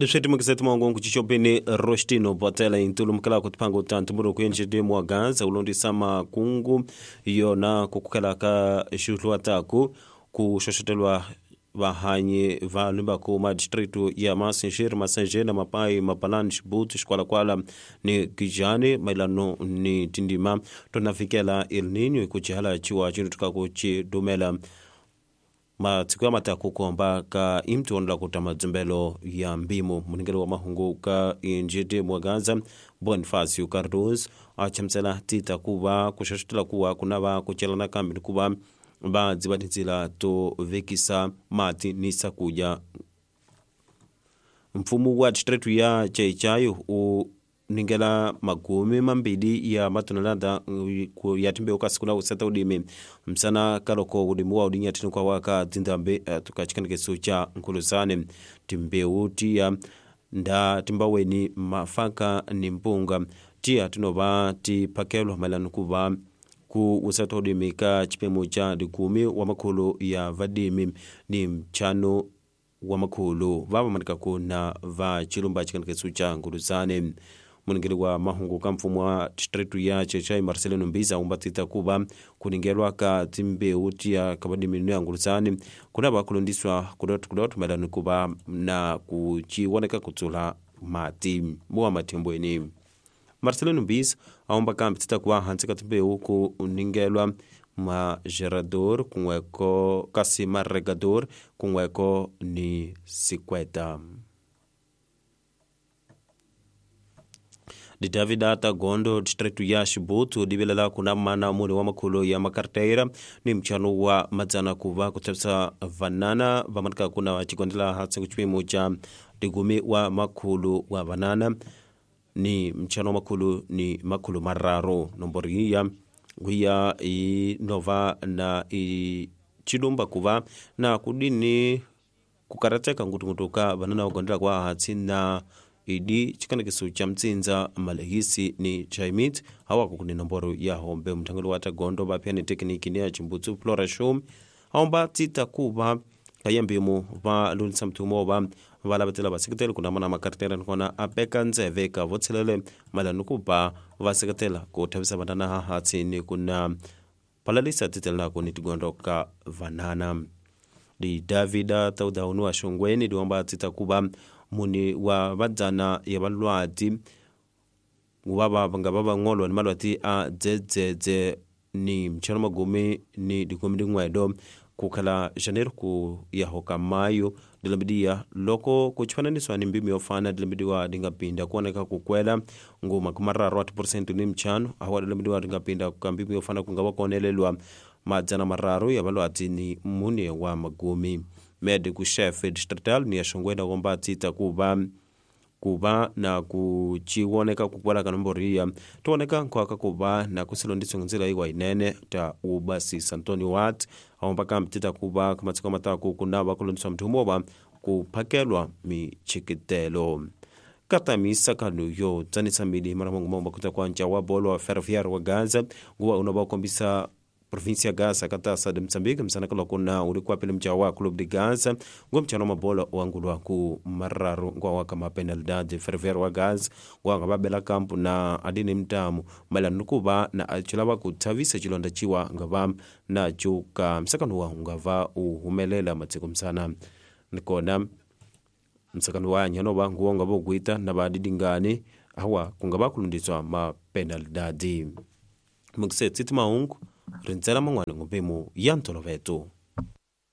Leswi timukiseti mahungu kuchichopeni Rostino Botela intulumukela ku tiphango ta ntumbuluko yenjede wa Gaza ulondisa makungu yona ku kukhela ka xuhluwa taku ku xoxotelwa vahanyi va lumbaku ma district ya Masinjere, Masanjena, Mapai, Mapalani, Xibuti, Xikwalakwala ni Gijani mayelano ni tindima to navikela El Niño hi ku jihala chiwa cintukaku ci dumela matsiko ya mataku kuhamba ka imtionla kuta madzumbelo ya mbimo. Muningeli wa mahungu ka injidi Mwagaza Bonifacio Cardoso a chamusela tita kuva kuxaxetela kuwa kunava ku celana kambe ni kuva va dziva tintsila to vekisa mati ni swakudya. Mfumo wa district ya Chaichai u ningela magumi mambili ya matonelada ya timbewu ka siku la usata ulimi msana kaloko ulimi wa ulinyathini kwa waka dzindambe tukachikanekeso cha nkhuluzane timbewu tiya nda timbaweni mafaka ni mpunga tiya tinova tiphakelwa mayelana kuva ku usata ulimi ka chipemo cha 10 wa makhulu ya vadimi ni mchano wa makhulu vavamanikaku na va chilumba chikanekeso cha nkhuluzane. Muningeli wa mahungu ka mfumo wa district ya Chechai Marcelino Mbiza umbatita kuva kuningelwa ka timbewu tiya kabadimi ya nguluzani kunava kulondiswa kudotu mayelana kuva na kuchiwoneka kutsula mati muwa mathimbweni. Marcelino Mbiza aumba kambi tita kuva hansi ka timbewu ku ningelwa magerador kunweko kasi maregador kunweko ni sikweta. Davida Tagondo district ya Xibutu divelela kuna mana mune wa makhulu ya makarteira ni mchano wa madzana kuva kutsapisa vanana vamanika kuna chikondela hatsi kuchipimo cha 10 wa makhulu wa vanana ni mchano wa makhulu ni makhulu mararu nombori ya guya i nova na i chilumba kuva na kudini kukarateka ngutungutuka vanana wakondela kwa hatsi na idi chikanekiso cha mtsinza malehisi ni chaimit hawako kuni nomboro ya hombe mthangelo wa Tagondo vapya ni tekniki ni ya chimbutsu Flora Shum aomba tita kuva kayambimo va lunisa mthumo va valavetela vaseketeli kuna mana makartela nikona apeka ndzeve ka votshelele mayelana kuba va seketela ku thavisa vanana hahatsi ni kuna palalisa titelako ni tigondo ka vanana. Di Davida Taudaunu wa Shongweni diwamba tita kuva muni wa vadzana ya valwati vava nga va vang'olwa ni malwati a dzedzedze ni mchano magumi ni dikumi din'wedo kukhala janeiro ku yahoka mayo dilambidiya loko kuchifananisiwa ni mbimi yofana dilambidiwa dingapinda kuoneka kukwela nguma kumararu wa 10% ni mchano awa dilambidiwa dingapinda ka mbimi yofana kungava kuonelelwa 300 ya valwati ni mune wa magumi. Medico chef distrital ni ya Shongweni tita kuva na kuchiwoneka kukwala ka nomboro iya tioneka nkhwaka kuva na kusilondiswa ndzila iwa inene ta ubasisa Antonio Watt aomba kambi tita kuva kamatsiko mataku kunava kulondiswa mthumo kuphakelwa michikitelo. Katamisa kanu yo tsanisa mili mara mungu momba kuta kwa ncha wa bolo wa Ferroviário wa Gaza nguwa unova kukombisa província ya Gaza katasa de Moçambique msana kala kuna ulikuwa pele mcha wa Clube de Gaza ngo mchano mabola wangulwa ku mararu ngwa waka mapenalidade Ferroviário wa Gaza ngwa ngababela kampu na adini mtamu mala nukuba na achilava kuthavisa chilonda chiwa ngava na chuka msakano wa ngava uhumelela matsiko msana nikona msakano wa nyano wa nguwa ngabo guita na badidingani awa kungaba kulundiswa mapenalidade. Mukse tsitima ungu rintsela mangwana ngompemo ya ntoloveto.